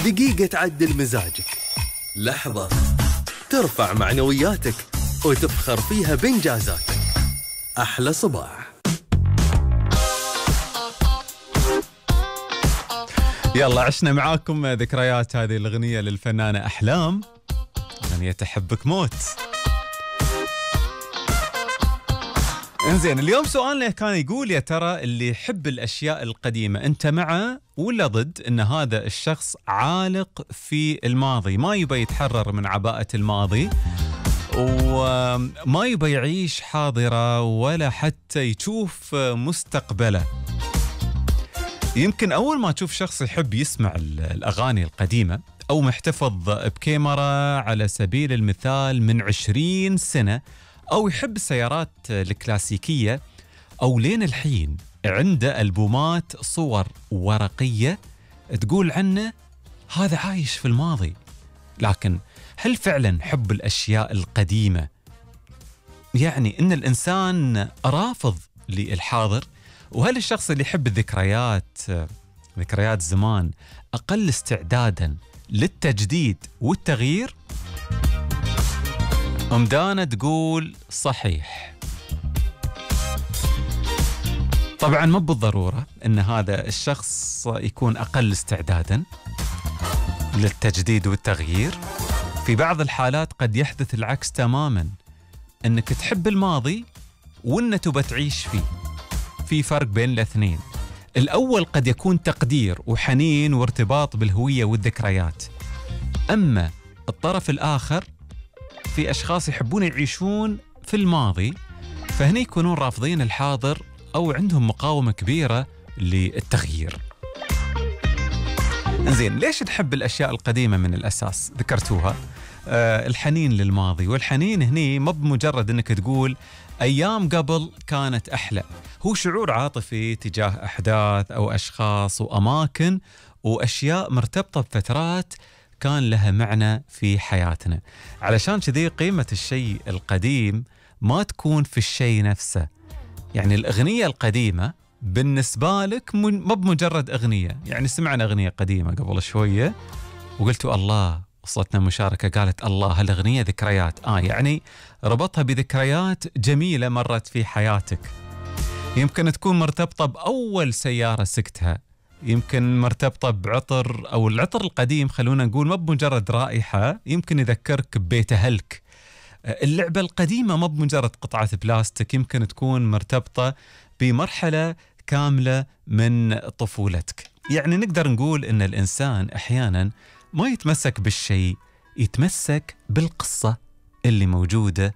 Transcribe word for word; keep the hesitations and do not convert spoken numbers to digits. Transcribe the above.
دقيقة تعدل مزاجك، لحظة ترفع معنوياتك وتفخر فيها بإنجازاتك. أحلى صباح. يلا عشنا معاكم ذكريات هذه الأغنية للفنانة أحلام، أغنية أحبك موت. انزين، اليوم سؤالنا كان يقول يا ترى اللي يحب الأشياء القديمة أنت معه ولا ضد أن هذا الشخص عالق في الماضي، ما يبي يتحرر من عباءة الماضي وما يبي يعيش حاضرة ولا حتى يشوف مستقبله. يمكن أول ما تشوف شخص يحب يسمع الأغاني القديمة أو محتفظ بكاميرا على سبيل المثال من عشرين سنة، أو يحب السيارات الكلاسيكية، أو لين الحين عنده ألبومات صور ورقية تقول عنه هذا عايش في الماضي. لكن هل فعلا حب الأشياء القديمة يعني إن الإنسان رافض للحاضر؟ وهل الشخص اللي يحب الذكريات ذكريات زمان أقل استعدادا للتجديد والتغيير؟ أم دانا تقول صحيح. طبعا ما بالضرورة أن هذا الشخص يكون أقل استعدادا للتجديد والتغيير. في بعض الحالات قد يحدث العكس تماما، أنك تحب الماضي وأنك تبى تعيش فيه. في فرق بين الاثنين. الأول قد يكون تقدير وحنين وارتباط بالهوية والذكريات، أما الطرف الآخر في أشخاص يحبون يعيشون في الماضي، فهنا يكونون رافضين الحاضر أو عندهم مقاومة كبيرة للتغيير. إنزين، ليش نحب الأشياء القديمة من الأساس؟ ذكرتوها، آه الحنين للماضي. والحنين هني ما بمجرد أنك تقول أيام قبل كانت أحلى، هو شعور عاطفي تجاه أحداث أو أشخاص وأماكن وأشياء مرتبطة بفترات كان لها معنى في حياتنا. علشان كذي قيمة الشيء القديم ما تكون في الشيء نفسه. يعني الأغنية القديمة بالنسبة لك ما بمجرد أغنية، يعني سمعنا أغنية قديمة قبل شوية وقلتوا الله، وصلتنا مشاركة قالت الله هالأغنية ذكريات، آه يعني ربطها بذكريات جميلة مرت في حياتك. يمكن تكون مرتبطة بأول سيارة سكتها، يمكن مرتبطة بعطر، أو العطر القديم خلونا نقول ما بمجرد رائحة، يمكن يذكرك ببيت أهلك. اللعبة القديمة ما بمجرد قطعة بلاستيك، يمكن تكون مرتبطة بمرحلة كاملة من طفولتك. يعني نقدر نقول إن الإنسان أحيانا ما يتمسك بالشيء، يتمسك بالقصة اللي موجودة